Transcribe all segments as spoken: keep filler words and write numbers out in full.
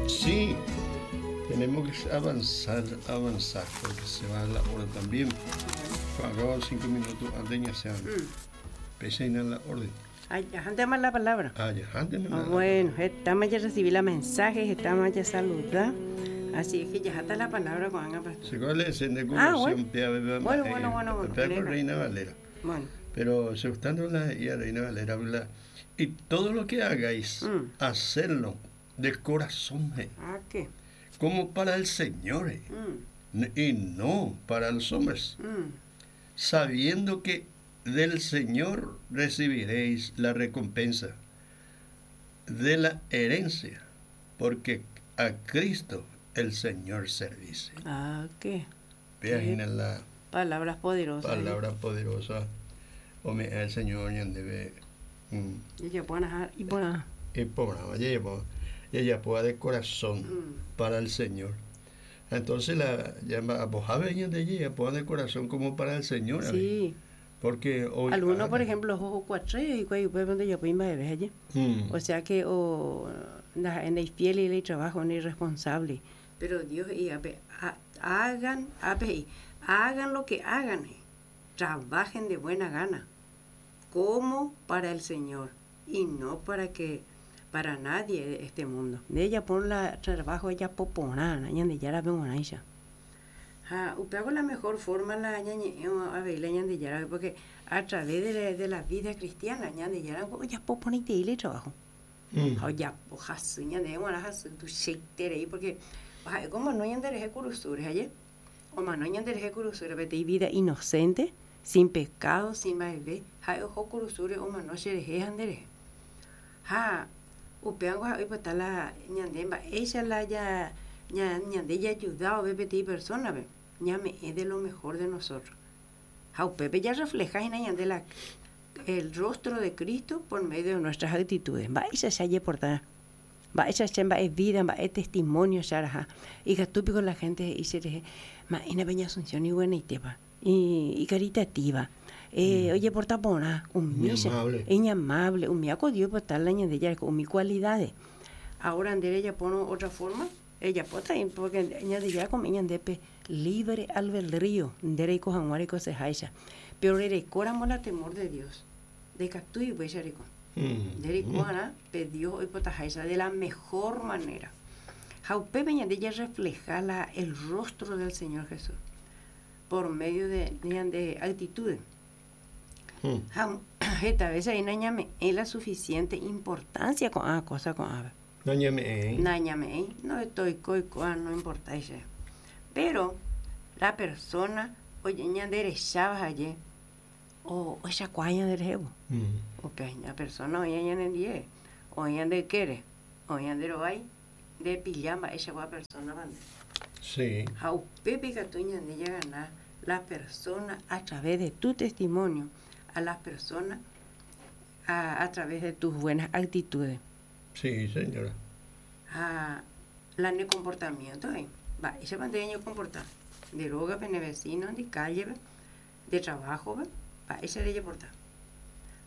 Sí, tenemos que avanzar, avanzar, porque se va la hora también. Acabo cinco minutos antes ya se mm. la orden. Ay, antes más la palabra. Ah, ya, antes más la Bueno, estamos ya recibí la mensaje, estamos ya saludar. Así es que ya está la palabra con Ana Pastor. Se cuál es de ah, bueno. Bueno, bueno, bueno, bueno. Reina Valera. Bueno. Pero se gustando la y Reina Valera habla y todo lo que hagáis, mm. hacerlo de corazón. Ah, ¿qué? Como para el Señor mm. y no para los hombres. Mm. Sabiendo que del Señor recibiréis la recompensa de la herencia, porque a Cristo el Señor servís. Ah, ¿qué? Vean la palabras poderosas. Palabras poderosas. Ome el Señor debe. Y ella puede y por Y por ella puede de corazón mm. para el Señor. Entonces la llama a de ella puede de corazón como para el Señor. Sí. Porque hoy algunos, por ejemplo, ojo cuatro y donde yo puedo allí. O sea que o en el fiel y el trabajo en el responsable. Pero Dios y hagan, hagan lo que hagan, trabajen de buena gana, como para el Señor y no para que para nadie de este mundo. De ella por la trabajo ella poporana, de ya la veo Ja, hago la mejor forma la a ver la de porque a través de la, de la vida cristiana de ya ya poponite y le trabajo. Mm. Ya pojas de bueno tu shake porque como no ñande curusure ayer o no ñande curusure vete vida inocente sin pecado sin bebé ja ojo curusure o no se andere ja upeango ja pues está la ñande ella la ya ñande ya ayudado bebé persona ve ñame es de lo mejor de nosotros ja upepe ya refleja en ñande la el rostro de Cristo por medio de nuestras actitudes va ella se haya portada va ella se va es vida va es testimonio ya y que la gente y se le ma ina peña asunción y buena y tepa y, y caritativa eh, mm. Oye porta pona humilla es amable humilla con Dios por tal la de ella con mis cualidades ahora andere ella pone otra forma ella pota porque añade ya con ella de libre albedrío ndere y cojan y cosas pero le recoramos la temor de Dios de captu y pues rico de rico Dios hoy potajaisa de la mejor manera Jaupe de ella refleja la, el rostro del Señor Jesús por medio de, de, de actitudes. Mm. Esta vez ahí no es la suficiente importancia con a cosa con a. No no estoy coi no importa eso. Pero la persona oye ñanderechaba allí o esa cuaña del jevo. Mm. O peña persona oye ñandendie o ñande quiere o ñandero hay de pijama esa gua persona bande. Sí. Jaupepe que ñande ya ganar la persona a través de tu testimonio, a las personas a, a través de tus buenas actitudes. Sí, señora. A la ne comportamiento, eh. Va, ese manteño comportar. De droga, de vecino, de calle, de trabajo, va, ese le portar.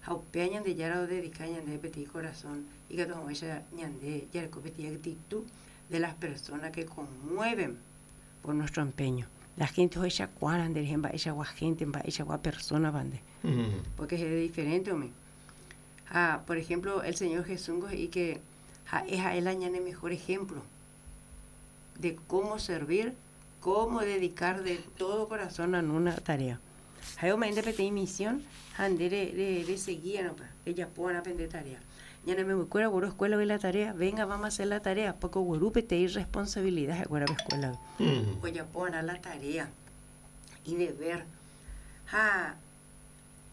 Jaupeñan de yara o dedicañan de petit corazón y que todo esa ñande ya petit actitud de las personas que conmueven por nuestro empeño. La gente hoy esa cuaran de ejemplo, esa gente, esa persona bande. Mm. Porque es diferente, hombre. Ah, por ejemplo, el Señor Jesús y que ja, es a él añade mejor ejemplo de cómo servir, cómo dedicar de todo corazón a una tarea. Jaime me de misión, de de de seguir, no ella puede aprender tarea. Ya no me acuerdo, güero, escuela ve la tarea, venga, vamos a hacer la tarea, porque güero te irresponsabilidad, güero, escuela. Mm. Oye, pon la tarea y deber. Ja,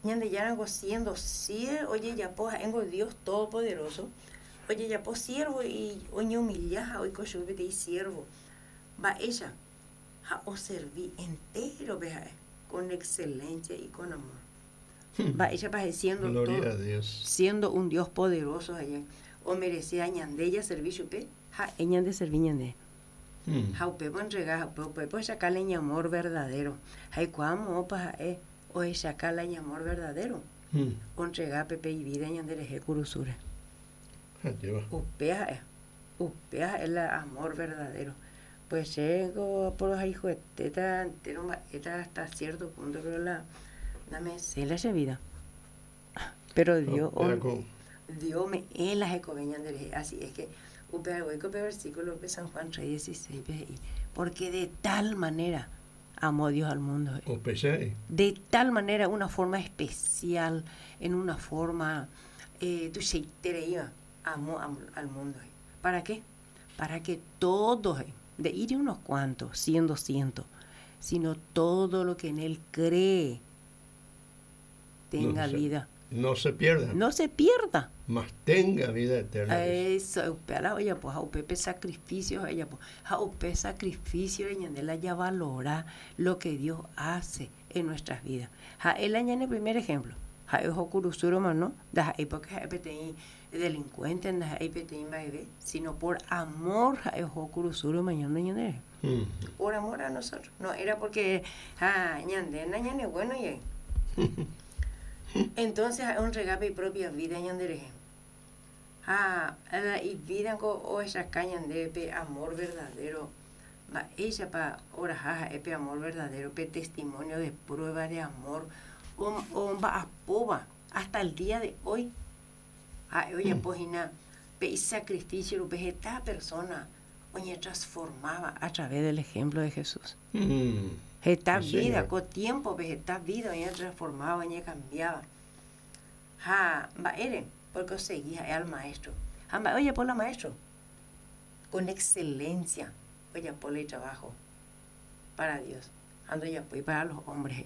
ñande ya algo siendo siervo, oye, ya po, engo Dios todopoderoso. Oye, ya po siervo y oye humilla, hoy cocho y siervo. Va ella, ja, o serví entero, vea, con excelencia y con amor. Va ella va siendo Gloria todo, a Dios. Siendo un Dios poderoso allá. O merecía ñande servicio pe, ja, ñande serví ñande. Mm. Ja upe po entregar, ja upe po sacarle amor verdadero. Ja y cuamo pa eh o es sacarle amor verdadero. Mm. O entregar pepe y vida ñande le curusura. Lleva. Upe ja. Upéa el amor verdadero. Pues llego por los hijos de teta entero hasta cierto punto, pero la la me sé la vida. Pero Dios, No, Dios me en las así es que versículo de San Juan tres dieciséis, porque de tal manera amó Dios al mundo. De tal manera, una forma especial, en una forma, eh, amó al mundo. ¿Para qué? Para que todos, de ir unos cuantos, cien, doscientos, sino todo lo que en él cree tenga no se, vida. No se pierda. No se pierda. Mas tenga vida eterna. Eso, oye, pues, a sacrificio, ella, pues, a sacrificio, ella ya valora lo que Dios hace en nuestras vidas. Ja, él añade el primer ejemplo. Ja, ojo kurusuro, mano, da porque delincuente, da sino por amor, ja, ojo kurusuro, mañana, mañana. Por amor a nosotros. No era porque, ja, ñande, ñande, bueno, y entonces un regape y propia vida ñandereje. Ah, y vida o esa caña de amor verdadero. Va ella pa ora jaja epe amor verdadero, pe testimonio de prueba de amor. O o va a poba hasta el día de hoy. Ah, oye, pojina, pe sacrificio lo pe esta persona oye transformaba a través del ejemplo de Jesús. Mm. Esta Sí, vida, señor. con tiempo, pues, esta vida, ella transformaba, ella cambiaba. Ja, va ere, porque seguía al maestro. Ja, va, oye, por la maestro. Con excelencia, oye, por el trabajo para Dios. Ando ya pues para los hombres.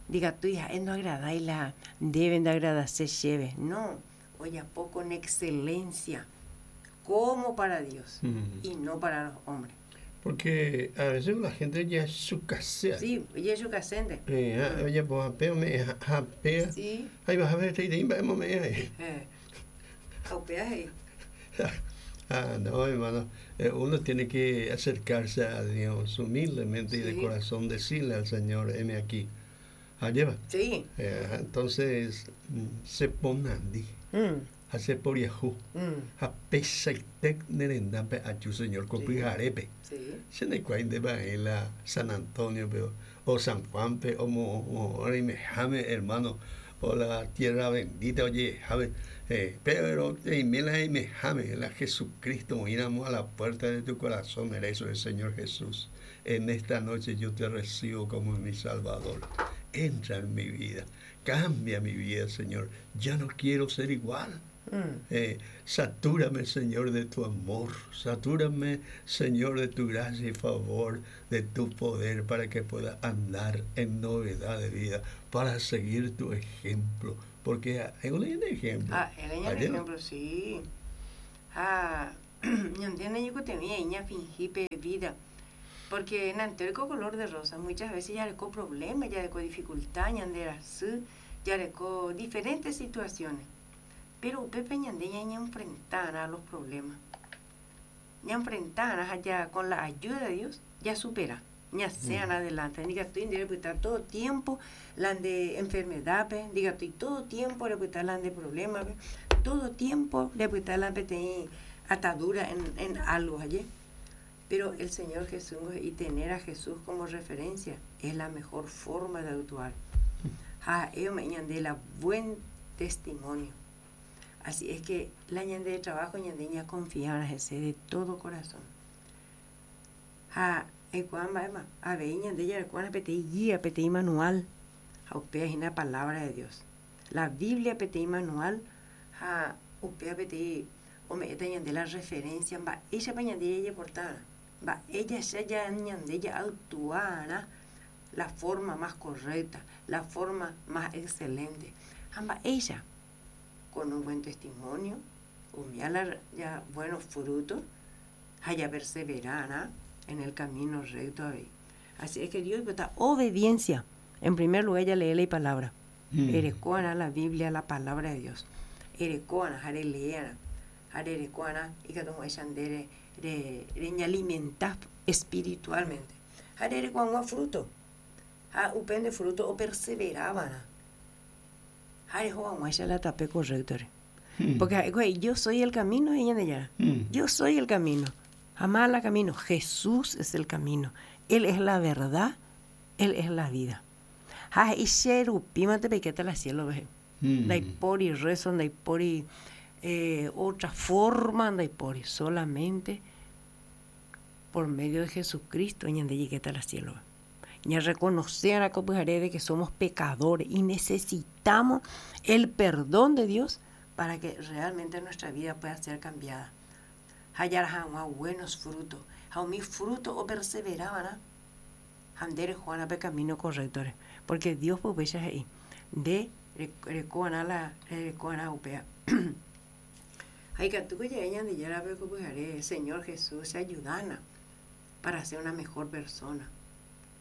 Diga tu hija, no agradáis la, deben de agradarse lleve. No, oye, po con excelencia, como para Dios Mm. y no para los hombres. Porque a veces la gente ya es su casea. Sí, oye, su casente. Eh, ah, oye, pues apeo me apea. Sí. Ahí vas a ver, te diré, vamos me ahí. Eh, apea ahí. Ah, no, hermano. Eh, uno tiene que acercarse a Dios humildemente y de Sí. corazón decirle al Señor, heme aquí. Ah, lleva. Sí. Eh, entonces, mm, se ponandi, Mm, hace por Yahoo. mm, A pesa y tec nerendape a tu Señor, Sí. copijarepe. sí. Se ne cuainde va en la San Antonio, pero, o San Juan, pe, o mo, o, o, jame, hermano, o la tierra bendita, oye, jame, eh, pero, y mela y me jame, la Jesucristo, miramos a la puerta de tu corazón, eso el Señor Jesús. En esta noche yo te recibo como mi Salvador. Entra en mi vida, cambia mi vida, Señor. Ya no quiero ser igual. Mm. Eh, satúrame, Señor, de tu amor. Satúrame, Señor, de tu gracia y favor, de tu poder, para que pueda andar en novedad de vida, para seguir tu ejemplo. Porque hay un ejemplo. Ah, el año Ayer, ejemplo, sí. Ah, yo entiendo yo que tenía ña fingí pe vida. Porque en anterior color de rosa muchas veces ya le co problemas, ya le co dificultad, ya de así, ya le co diferentes situaciones. Pero Pepe ñande ya ña enfrentar a los problemas. Ya enfrentar ya con la ayuda de Dios, ya supera. Ya sean Mm. adelante. Diga, estoy en todo tiempo, la de enfermedad, pe. Diga, estoy todo tiempo, le la de problemas, pe. Todo tiempo, le la de atadura en, en algo allí. Pero el Señor Jesús y tener a Jesús como referencia es la mejor forma de actuar. Ah, ellos me ñande la buen testimonio. Así es que la ñande de trabajo ñande ña confiar a Jesús de todo corazón. Ah, ecuamba ema, a ver ñande ya cuana pete guía pete manual. A upea es la palabra de Dios. La Biblia pete manual, a upea pete o me eta ñande la referencia, va ella pa ñande ella portada. Va ella ya ya ñande ella actuara la forma más correcta, la forma más excelente. Amba ella con un buen testimonio, humiala ya buenos frutos, haya perseverara en el camino recto. Así es que Dios está obediencia. En primer lugar, ella lee la palabra. Mm. Erecoana la Biblia, la palabra de Dios. Erecoana, jare leana, jare erecoana, y que tomo esa andere, re, re alimentar espiritualmente. Jare erecoana fruto. Ha upende fruto o perseveraban. Jare joan la tape correcto. Mm. Porque güey, yo soy el camino, ella de allá. Mm. Yo soy el camino. Jamás la camino. Jesús es el camino. Él es la verdad. Él es la vida. Ha che rupímante peikéta la cielo ve. Mm. Ndaipóri rezo, ndaipóri eh, otra forma, ndaipóri solamente por medio de Jesucristo ñande jaikéta la cielo. Ya reconocer a de que somos pecadores y necesitamos el perdón de Dios para que realmente nuestra vida pueda ser cambiada. Hallar buenos frutos. Ha umi fruto o perseveraban ha nde reho pe camino correcto. Porque Dios pues ahí de rekoana la rekoana upea. Ay, que tú que de Señor Jesús, ayúdana para ser una mejor persona.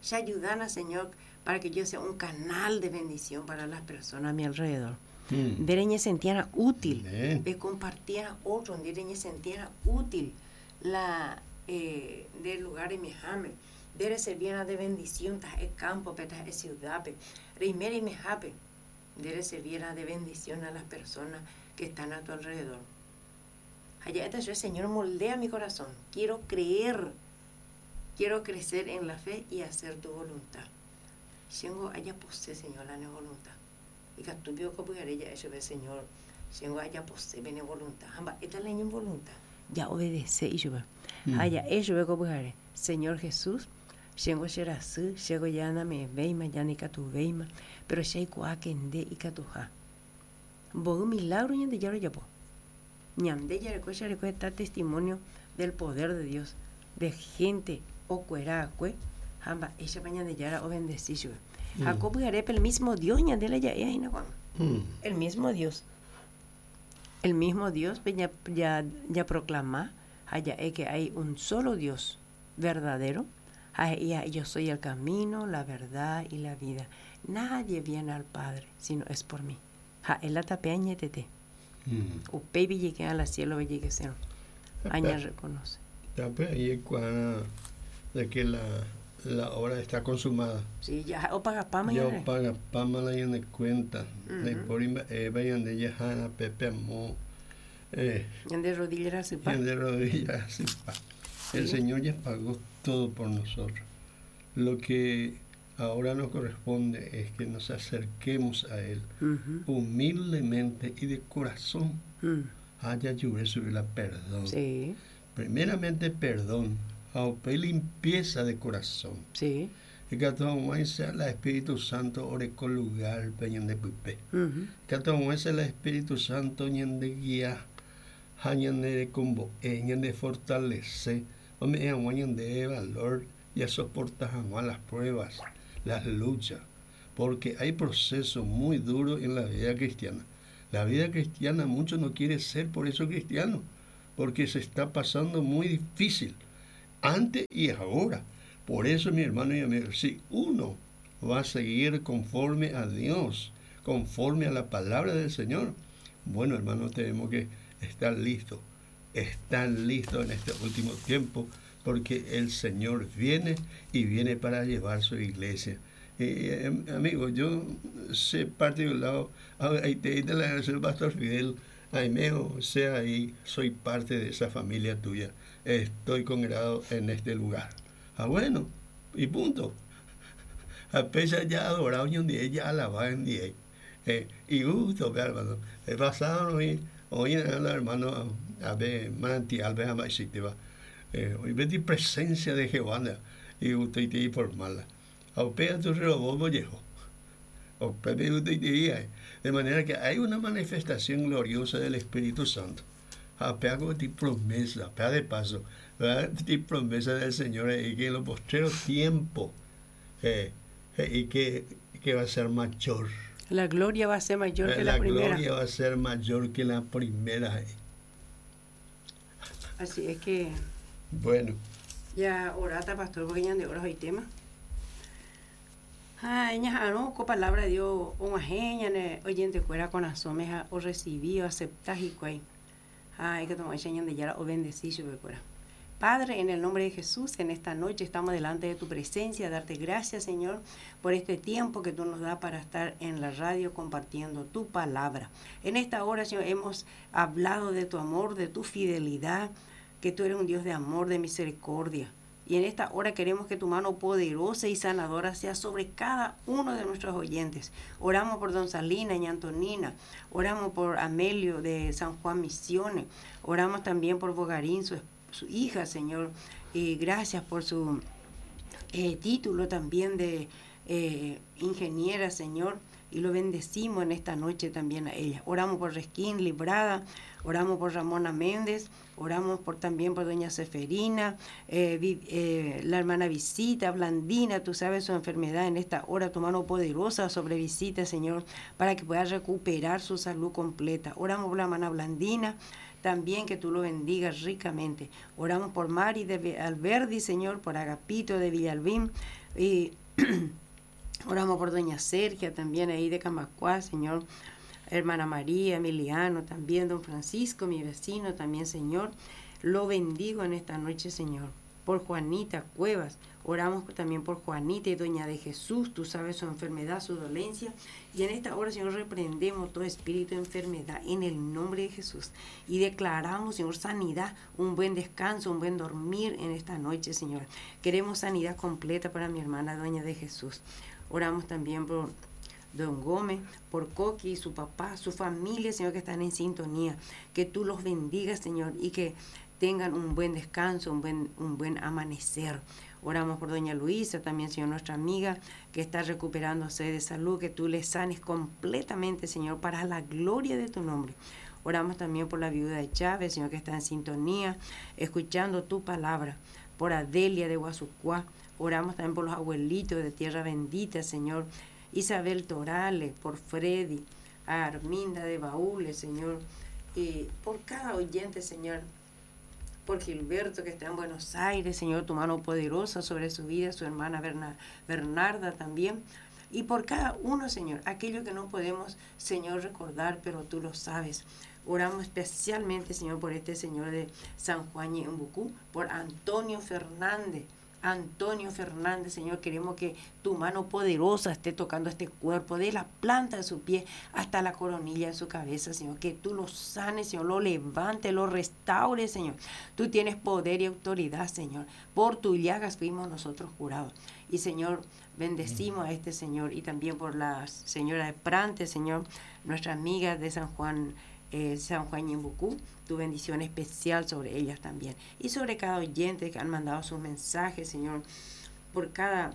Se ayúdana, Señor, para que yo sea un canal de bendición para las personas a mi alrededor. Mm. De sentiera útil, Amén. de compartir a otro, de sentiera útil la eh, del lugar de mi jame, de servir de bendición, tas el campo, tas el ciudad, rimera y mejape, de servir de bendición a las personas que están a tu alrededor. Allá está el Señor moldea mi corazón. Quiero creer, quiero crecer en la fe y hacer tu voluntad. Chéngo ajapose, Señor, la ne voluntad. Y que tú vio como ella eso ve, Señor, chéngo ajapose ne voluntad. Amba, esta la voluntad. Ya obedece y yo ve. Allá eso ve como Señor Jesús, chéngo cherasy, chéngo ya na me veima, ya ni katu veima, pero che aikuaa que nde ikatuha. Mboy milagro Ñandejára ojapo. Ñande jareko jareko está testimonio del poder de Dios, de gente okuera'akue ha mba'éichapa Ñandejára obendeci chupe. Ha ko pyharépe el mismo Dios ñande la ja'e hína Juan. Mm. El mismo Dios. El mismo Dios ya, ya, ya proclama ha ja'e que hay un solo Dios verdadero. Ha he'i yo soy el camino, la verdad y la vida. Nadie viene al Padre si no es por mí. Ha'e la tape añetete. Mm. Upéi jeike al cielo jaikése. Aña reconoce. Tape ahí cuando de que la, la obra está consumada. Sí, ya opagapáma Ya ñande. opagapáma la ñane cuenta. Ujú. Ndaipóri mba'épa ñande jahána pépe amo. Eh, Ñande rodilla rasypa. ñande rodilla rasypa. El Sí. Señor ya pagó todo por nosotros. Lo que ahora nos corresponde es que nos acerquemos a Él Ujú. humildemente y de corazón. Mm. Haya subir la perdón. Sí, Primeramente perdón. Ha upéi limpieza de corazón. sí. Ikatu hag̃uáicha la Espíritu Santo oreko lugar pe ñande pype. Ujú. Ikatu hag̃uáicha la Espíritu Santo ñande guía ha ñande rekombo'e, ñande fortalece, ome'ẽ hag̃ua ñande valor y a soportar hag̃ua las pruebas, las luchas, porque hay procesos muy duros en la vida cristiana. La vida cristiana mucho no quiere ser por eso cristiano, porque se está pasando muy difícil, antes y ahora. Por eso, mi hermano y amigo, si uno va a seguir conforme a Dios, conforme a la palabra del Señor, bueno, hermano, tenemos que estar listos, estar listos en este último tiempo, porque el Señor viene y viene para llevar su iglesia. Eh, eh, amigo, yo sé parte de un lado, ahí te te la el pastor Fidel, ahí meo, sea ahí, soy parte de esa familia tuya, estoy congregado en este lugar. Ah, bueno, y punto. A pesar ya adorado un día, ya alabado en día. Eh, y gusto, ve, hermano. He pasado hoy, hoy hermano, a ver, manantial, ve, jamás existe, va. Eh, hoy ve presencia de Jehová, y usted te por mala. A usted tu robó viejo. De manera que hay una manifestación gloriosa del Espíritu Santo. A de promesa, de paso, ¿verdad? Promesa del Señor y que en los postreros tiempos eh, eh, y que, que va a ser mayor. La gloria va a ser mayor que la, la primera. La gloria va a ser mayor que la primera. Así es que. Bueno. Ya orata, pastor, porque ya de horas hoy tema. Ay, ña ko palabra de Dios, og̃uahẽ ñane oyentekuéra korasõme ha orecibí, o aceptá hikuái. Ay, que toma Ñandejára obendeci chupekuéra. Padre, en el nombre de Jesús, en esta noche estamos delante de tu presencia, darte gracias, Señor, por este tiempo que tú nos das para estar en la radio compartiendo tu palabra. En esta hora, Señor, hemos hablado de tu amor, de tu fidelidad, que tú eres un Dios de amor, de misericordia. Y en esta hora queremos que tu mano poderosa y sanadora sea sobre cada uno de nuestros oyentes. Oramos por Don Salina y Antonina. Oramos por Amelio de San Juan Misiones. Oramos también por Bogarín, su, su hija, Señor. Y gracias por su eh, título también de eh, ingeniera, Señor. Y lo bendecimos en esta noche también a ella. Oramos por Resquín Librada, oramos por Ramona Méndez, oramos por, también por doña Seferina, eh, vi, eh, la hermana Visita, Blandina, tú sabes su enfermedad en esta hora, tu mano poderosa sobre Visita, Señor, para que pueda recuperar su salud completa. Oramos por la hermana Blandina, también que tú lo bendigas ricamente. Oramos por Mari de Alberdi, Señor, por Agapito de Villalbín, y oramos por doña Sergia también ahí de Camacuá, Señor, hermana María, Emiliano, también don Francisco, mi vecino también, Señor. Lo bendigo en esta noche, Señor. Por Juanita Cuevas, oramos también por Juanita y doña de Jesús, tú sabes su enfermedad, su dolencia. Y en esta hora, Señor, reprendemos todo espíritu de enfermedad en el nombre de Jesús. Y declaramos, Señor, sanidad, un buen descanso, un buen dormir en esta noche, Señor. Queremos sanidad completa para mi hermana doña de Jesús. Oramos también por don Gómez, por Coqui, su papá, su familia, Señor, que están en sintonía. Que tú los bendigas, Señor, y que tengan un buen descanso, un buen, un buen amanecer. Oramos por doña Luisa, también, Señor, nuestra amiga, que está recuperándose de salud, que tú le sanes completamente, Señor, para la gloria de tu nombre. Oramos también por la viuda de Chávez, Señor, que está en sintonía, escuchando tu palabra. Por Adelia de Guasucuá. Oramos también por los abuelitos de Tierra Bendita, Señor. Isabel Torales, por Freddy, a Arminda de Baúles, Señor. Y por cada oyente, Señor. Por Gilberto, que está en Buenos Aires, Señor, tu mano poderosa sobre su vida, su hermana Berna, Bernarda también. Y por cada uno, Señor, aquello que no podemos, Señor, recordar, pero tú lo sabes. Oramos especialmente, Señor, por este señor de San Juan y Embucú, por Antonio Fernández. Antonio Fernández, Señor, queremos que tu mano poderosa esté tocando este cuerpo, de la planta de su pie hasta la coronilla de su cabeza, Señor, que tú lo sanes, Señor, lo levante, lo restaure, Señor. Tú tienes poder y autoridad, Señor. Por tu llagas fuimos nosotros curados. Y, Señor, bendecimos a este señor y también por la señora de Prante, Señor, nuestra amiga de San Juan, Eh, San Juan Ñembucú, tu bendición especial sobre ellas también. Y sobre cada oyente que han mandado sus mensajes, Señor, por cada,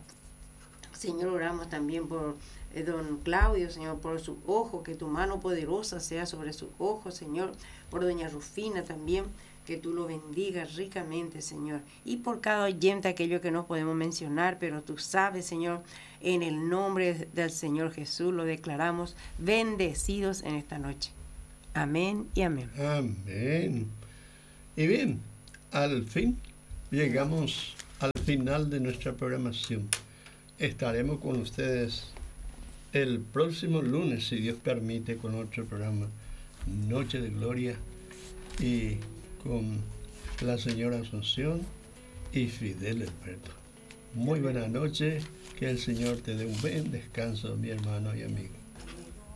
Señor, oramos también por eh, don Claudio, Señor, por su ojo, que tu mano poderosa sea sobre su ojo, Señor, por doña Rufina también, que tú lo bendigas ricamente, Señor. Y por cada oyente, aquello que no podemos mencionar, pero tú sabes, Señor, en el nombre del Señor Jesús lo declaramos bendecidos en esta noche. Amén y amén. Amén. Y bien, al fin llegamos al final de nuestra programación. Estaremos con ustedes el próximo lunes, si Dios permite, con otro programa, Noche de Gloria, y con la señora Asunción y Fidel Alberto. Muy buena noche, que el Señor te dé un buen descanso, mi hermano y amigo.